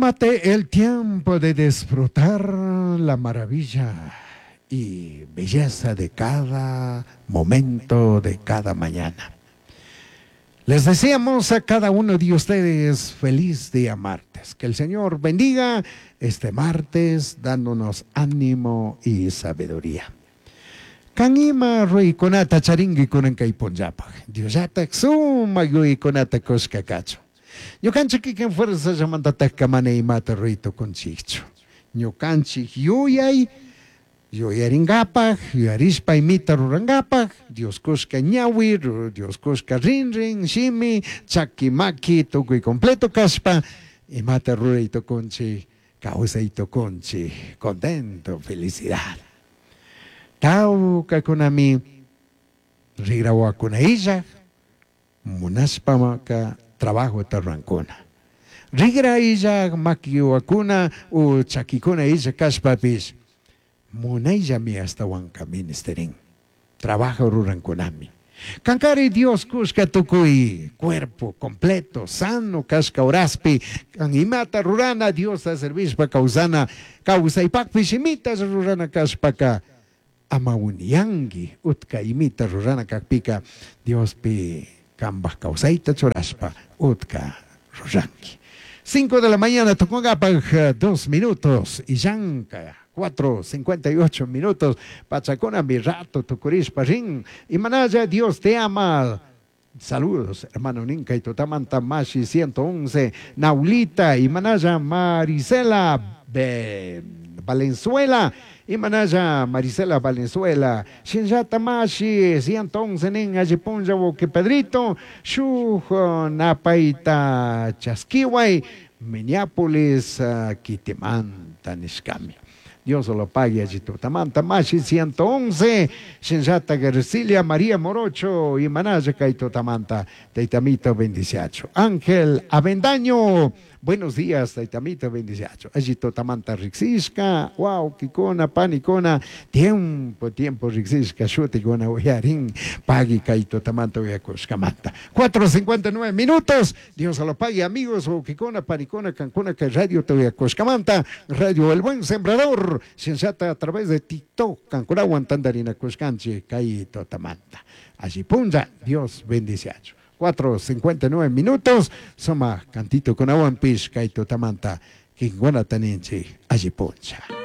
Tómate el tiempo de disfrutar la maravilla y belleza de cada momento, de cada mañana. Les deseamos a cada uno de ustedes feliz día martes. Que el Señor bendiga este martes dándonos ánimo y sabiduría. Can ima ruicunata charingui cunan cai punllapaj. Diosllataj sumac yuyaicunata cushca cachun. Ñucanchij quiquin fuerzallamantatajca mana imata rui tucunchijchu. Ñucanchij yuyai yuyaringapaj, yuyarishpa imita rurangapaj, Dios cushca ñahui, Dios cushca rinrin, shimi, chaqui, maqui, tucui completo cashpa imata rurai tucunchij, causai tucunchij, contento, felicidad. Taucacunami rigrahuacuna illaj, munashpaca trabajota rurancuna. Rigra illaj maquihuacuna o chaquicuna illaj cashpapish munaillami ashtahuanca minishtirin. Trabajo rurancunami. Cancari Dios cushca tucui cuerpo completo, sano cashca horaspi, can imata rurana Diosta servishpa causana, causaipajpish imita rurana cashpaca, ama uniyangui, utca imita rurana cajpica, Diospi cambaj causaita churashpa, utca rurangui. 5 de la mañana tucungapaj 2 minutos y llanca 4:58 minutos pachacunami rato tucurishpa rin. Imanalla Dios te ama. Saludos, hermano Ninka y Tutamanta Mashi 111, Naulita, Imanaya Marisela Valenzuela, Imanaya Marisela Valenzuela, Shinllata Mashi 111 nin Allipunlla Woki Pedrito, Shuj Napaita Chasquiway, Minneapolis, Kitimanta nishkami. Dios lo pague allí tutamanta Mashi 111, Shinllata Gersilia María Morocho, Imanaya Kaitotamanta, Taitamito bendiciacho. Ángel Avendaño, buenos días, Taitamito bendiciacho. Allí tutamanta Rixishka, wow, Kikona, Panicona, tiempo, tiempo Rixishka, Shutikona, Uyarin, Pagui Kaitotamanta, Uyakushkamanta. 4:59 minutos, Dios lo pague, amigos, Kikona, Panicona, Cancuna, que radio te Uyakushkamanta, Radio El Buen Sembrador, Shinllata a través de TikTok, Cancurawan, Tandarina, Kushkanchi, Kaitotamanta. Allí punja, Dios bendiciacho. 4:59 minutos, soma cantito con aguampish, Kaitotamanta, Kinguana Taninchi, allí puncha.